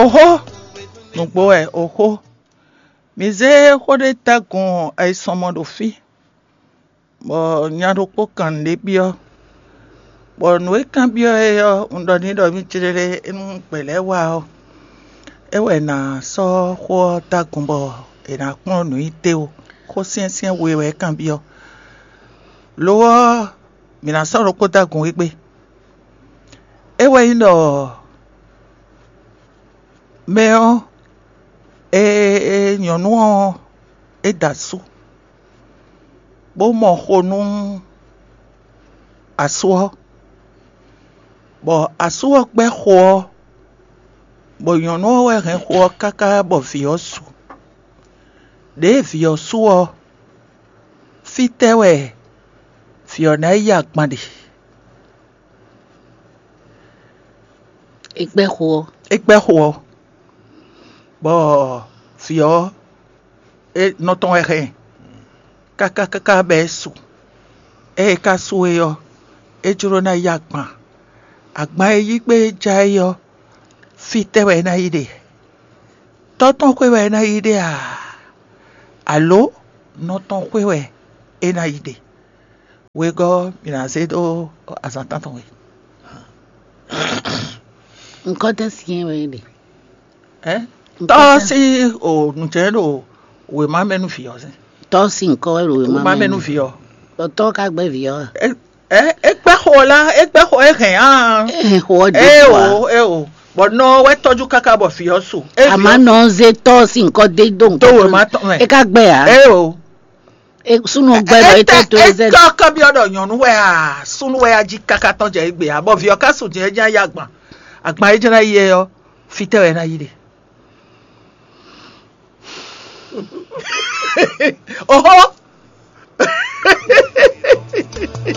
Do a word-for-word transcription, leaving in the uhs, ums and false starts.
Oxó, nǔgbó wɛ oxó. Mi zé xó ɖé dó agun ayisɔnmɔ ɖo fí, bɔ nya ɖokpó kan nǔɖé byɔ́, bɔ nǔ e kanbyɔ́ é ɔ́, un ɖɔ n'i ɖɔ mì céɖéɖé, é nú gbɛ̌ lɛ́ɛ wá ɔ́, é wɛ è nǎ sɔ́ xó ɔ́ dó agun bɔ è nǎ kplɔ́n nǔ nyi téwo. Xó syɛ́nsyɛ́n we wɛ é kanbyɔ́. Lo ɔ́, mǐ ná sɔ́ ɖokpó dó agun égbé. É wɛ nyí ɖɔ mɛ ɔ́, e e nyɔ̌nu ɔ́, é da asú, bó mɔ xo nú asú ɔ́, bɔ asú ɔ́ gbɛ́ xo ɔ́, bɔ nyɔ̌nu ɔ́ wɛ hɛn xo ɔ́ káká bɔ vǐ ɔ́ su. Ɖěe vǐ ɔ́ su ɔ́, fítɛ́ wɛ vǐ ɔ́ ná yi agban ɖe? É gbɛ́ xo ɔ́. É gbɛ́ xo ɔ́, bɔ vǐ ɔ́, é nɔ tɔn wɛ hɛn káká káká bɔ é su. Ée é ka su é ɔ́, é jló ná yi agban. Agban e yí gbé é já é ɔ́, fítɛ́ wɛ é ná yi ɖe? Tɔ́ tɔn xwé wɛ é ná yi ɖe a? Alǒ nɔ tɔn xwé wɛ é ná yi ɖe? Wegɔ́ ɔ́, mǐ ná zé dó azǎn tántɔn wɛ. Nǔkɔntɛn syɛ́n wɛ é ɖe. Ɛ tɔ́ sín o nǔjɛ ɖo wěma mɛ nú vǐ ɔ́ sín. Tɔ́ sín nǔkɔ wɛ ɖo wěma Wěma mɛ nú vǐ ɔ́. Tɔ́ ka gbɛ́ vǐ ɔ́. Ɛ ɛ é gbɛ́ xo ɔ́ lá, é gbɛ́ xo é hɛn á. É hɛn xo ɔ́ É dó o é o, bɔ nɔ ɔ́ wɛ tɔ́jú káká bɔ vǐ ɔ́ su. É vǐ Àmọ́ ɔ́ nɔ ɔ́ zé tɔ́ sín nǔkɔ dé dó dó nǔkɔ. Wěma tɔn mɛ. É ka gbɛ́ ǎ. É o. É súnú gbɛ́ bɔ é tɛ to é zɛ. Kɔkɔ byɔ́ ɖɔ nyɔ̌nu wɛ a, súnú wɛ a jí káká tɔn jɛ égbé a, bɔ vǐ ɔ́ ka su jɛ é ján yí agban. Agban é ján ná yi é ɔ́, fítɛ́ wɛ ná yi ɖe. Oxó,